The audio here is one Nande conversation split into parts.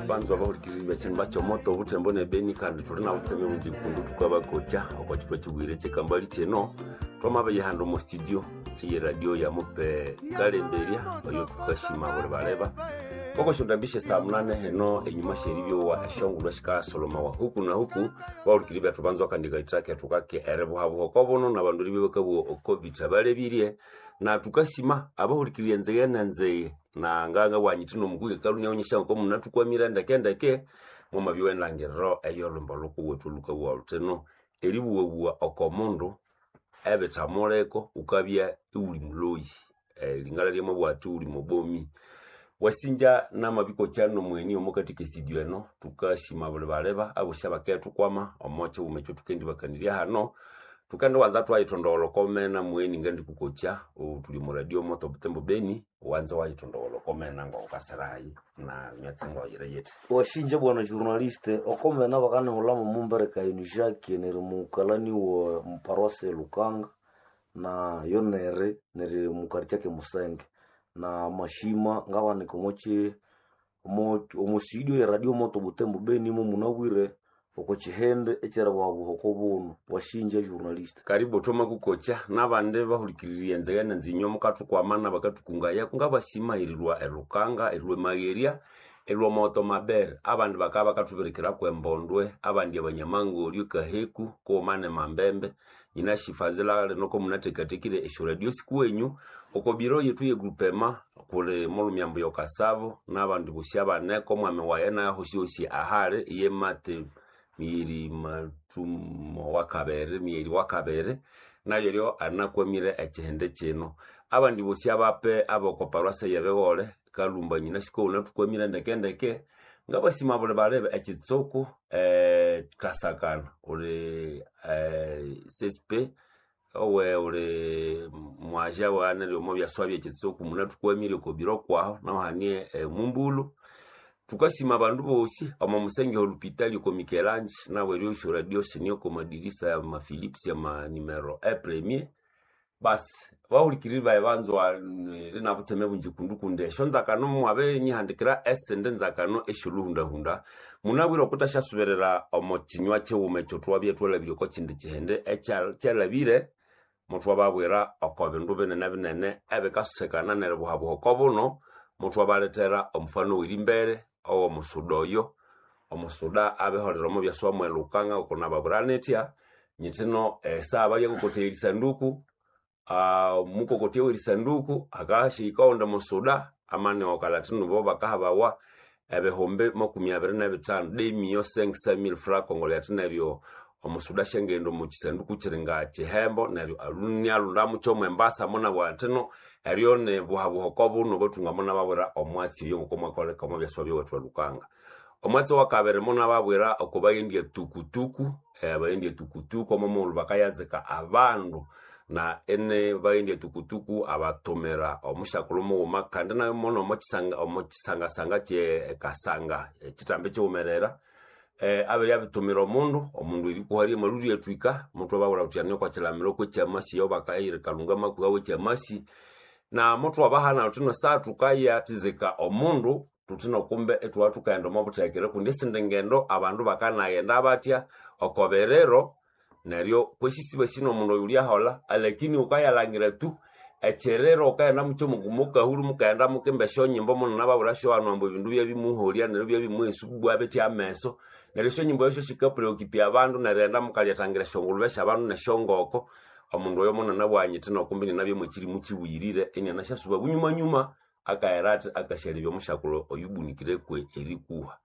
Banzwa abahulikiriri bekyindu bakyomoto obuthembo nebeni kandi thuli na butseme bungi kundu thukabakocha okwa kyithwa kibwire kyekambali kino. Twamabeyihanda omu studio eye radio ya mupe kalemberya oyo thukashima buli baleba okosyondambisya saa munane heno enyuma syeribyowa esyongulhu esikaasolomawa huku na huku. Bahulikiri bethu banzwa kandi kaitha kethu kake eribuhabuha oko buno nabandu eribya bakabuwa oko bitha balebirye, na thukasima abahulikiriri enzighe nenzighe na nganga bwanyithi nomukuke kalunya onyesya ngoko munathukwamire ndeke mwamabyowa endangiriro eyolhwimbo lhukuwethu olhukabuwa luthino eribuwabuwa oko mundu ebithamuliko wukabya iwuli muloyi. Lingala lyamabugha athi wuli mubomi wasinja namabikokya nomweni omukathika estudio eno. Thukasima buli baleba abosi abakethukwama omo kyighuma ekyo thukendibakanirya hano. Thukendiwanza thwayithondogholha okomena mweni ngandikukokya thuli omu radio moto Butembo Beni, wanza wayithondogholha okomena ngawukasirayi na myatsi ngawayira yithi. Washinja bwana journaliste, okomena bakanihulamo mumbereka enu Jacques neri mukalani wa muparosi Lukanga na yo neri neri mukari ke Musenge na mashima ngabanika omochi omo studio ya radio moto Butembo Beni mo munabwire oko kihende ekyeribuhabuha oko buno. Washinja journaliste. Karibu thoma kukokya nabandi bahulikiriri enzighe nenzinyo mukathukwamana bakathukungayaku ngabasima erilhwa elukanga, erilhwa emagherya, erilhwa moto mabere. Abandi bakabya bakathubirikiraku embondwe, abandi abanyamangoryo kaheku kughuma nemambembe. Nyinashifazila lino komunathekathekire esyoradio sikuwenyu oko biro yethu yegrupema kuli mulhumyambu yokasavo nabandi bosi abaneko omwami waye naye hosihosi ahali iye mate miyeri mathumo wakabere miyeri wakabere nayo ryo anakwamire ekihindi kino. Abandi bosi abape abokoparwasa yebihole kalumba nyina siko unathukwamire ndekendeke ngabasima buli balebe ekitsuku kasakana uli CSP owe uli mwaja wane omo byaswa byekitsuku munathukwamire okobiro kwaho naho hanie mumbulu. Thukasima abandu bosi omo musenge olupitali oko Mikelange nawe eryo radio sinio oko madirisa ya ma Philips ya ma numero e premier. Basi bahulikiriri bayi banzwa linabutseme bungi kundu kundi esyo nzakano mwabe nyihandikira esindi nzakano esyoluhundahunda munabwire okuthasyasuberera omo kinywa kighuma ekyo thwabya thwalhabire oko kindi kihindi ekyalhabire muthwababwira oko bindu binene binene ebikasekana neribuhabuha oko buno. Muthwabalethera omufano werimbere owomusuda oyo omusuda abiholera omo byaswa mwelukanga oko nababwira nithya nyithino esaha balyakokothya erisanduku, mukokotya werisanduku akahika owundi musuda amane okalathino bo bakahabawa ebihumbi 25 demio 500,000 francs congolais athi neryo omusuda asyangaghenda omu kisanduku kiri nga kihembo neryo aluni alundamu kyomwembasa munabugha athino eryo nibuhabuha oko buno bathunga munababwira omwatsi oyo ngoko mwakoleka omo byaswa byowethu elukanga. Omwatsi wakabiri munababwira oko baghendya tukutuku, baghendya tukutuku omo mughulhu bakayazika abandu na ene baghendya tukutuku abathumira omusyakulhu mughuma kandi nayo mono omo kisangasanga kye kasanga ekitambi kighumerera, abirya bitumira omundu erikuharya amalhulyo athwika muthwababwira thuthi ani okwa kilamiro kwekyamasi eyo bakayira kalunga makuha wekyamasi na muthwabahana thuthi esaha thukayathizika omundu thuthino kumbe ithwabya thukaghenda omo buthekere kundi esindi ngendo abandu bakanaghenda batya oko biriro neryo kwesisiba nomundu oyo wulyaholha alakini wukayalhangira tu ekyiriro wukaghenda mukyo mukahulhu mukaghenda mukimba esyonyimbo munanababwira syohanu ambu ebindu byabimuholya neryo byabimughesa bwa bithi ameso neryo esyonyimbo esyo sikapreocupya abandu neryo erighenda mukalyathangira esyongulube syabandu nesyongoko. Omundu oyo munanabugha nyithino kumbe inanabya mwekirimu kibuyirire inianasyasuba bunyumanyuma akaghera athi akasyalebya omusyakulhu oyubunikire erikuha.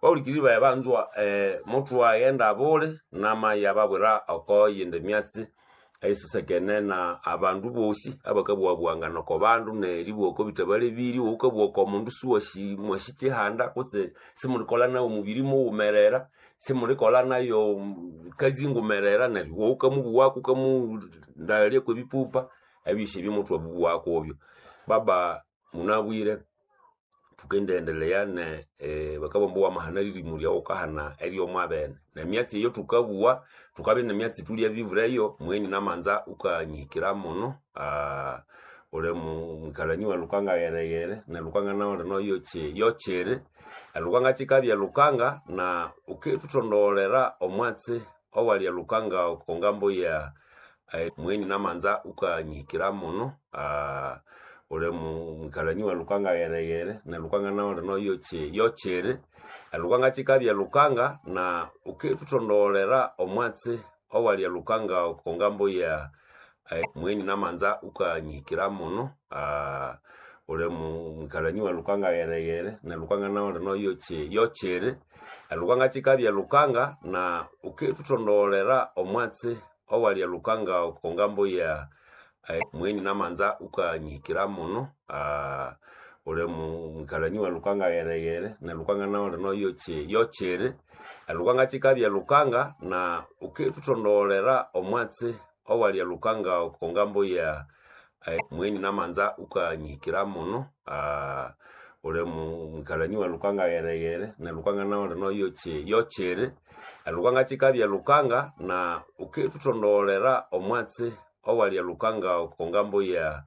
Bahulikiriri bayi banzwa, muthwaghenda buli namayababwira oko yindi myatsi eyisosekene na abandu bosi abakabuwabuwangana oko bandu neribuwa oko bitha balebirye iwawukabuwa oko mundu siwasi mwasi kihanda kutse simulikolha nayo omubiri mughumerera, simulikolha nayo kazi ngumerera neryo iwawukamubuwako wukamundaghalyaku ebipupa ebyosi ebyo muthwabubuwako obyo. Baba munabwire thukendiendelea ne bakabugha ambu wamahana lirimu lyawu wukahana eryomwabene nemyatsi eyo thukabuwa thukabya nemyatsi thulyabibureyo mweni namanza wukanyihikira muno. Uli mwikalani wa Lukanga ghereghere, ne Lukanga nawu lino yokyiri. Elukanga kyikabya Lukanga na wukithutondogholera omwatsi owali elukanga oko ngambo ya mweni namanza wukanyihikira muno. Uli mwikalani wa Lukanga ghereghere, ne Lukanga nawu lino yokyiri. Elukanga kyikabya Lukanga na wukithutondogholera omwatsi owali elukanga oko ngambo ya mweni namanza wukanyihikira muno. Uli mwikalani wa Lukanga ghereghere, ne Lukanga nawu lino yokyiri. Elukanga kyikabya Lukanga na wukithutondogholera omwatsi owali elukanga oko ngambo ya mweni namanza wukanyihikira muno. Uli mwikalani wa Lukanga ghereghere, ne Lukanga nawu lino yokyiri. Elukanga kyikabya Lukanga na wukithutondogholera omwatsi owali elukanga oko ngambo ya mweni namanza wukanyihikira muno. Uli mwikalani wa Lukanga ghereghere, ne Lukanga nawu lino yokyiri. Elukanga kyikabya Lukanga na wukithutondogholera omwatsi owali elukanga oko ngambo ya